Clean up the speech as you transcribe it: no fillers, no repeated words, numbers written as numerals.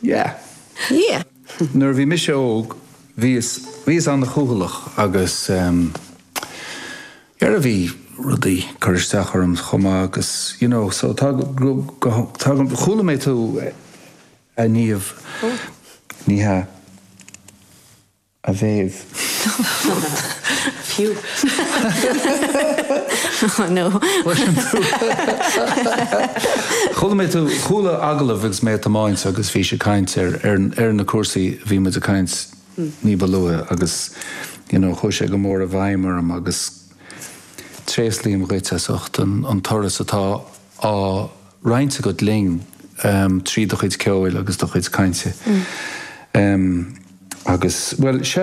Yeah. Yeah. Nuair a bhí mise óg, bhíos, bhíos an-chúthaileach agus ehm, dhera bhí rudaí ag cur isteach orm chomh maith agus you know, so tá go, go, tá go, chuala mé tú a Niamh, ní hea. A Mhéabh. Phew. Oh no. Chuala mé tú, chuala agallamh agus mé ag tiomáint agus bhís ag caint ar, ar, ar na cúrsaí a bhí muid ag caint ní ba luaithe agus you know chuaigh sé go mór i bhfeidhm orm agus tréaslaím dhuit as ucht an, an turas atá á roinnt agat linn trí do chuid ceoil agus do chuid cainte. Agus, bhuel, sea.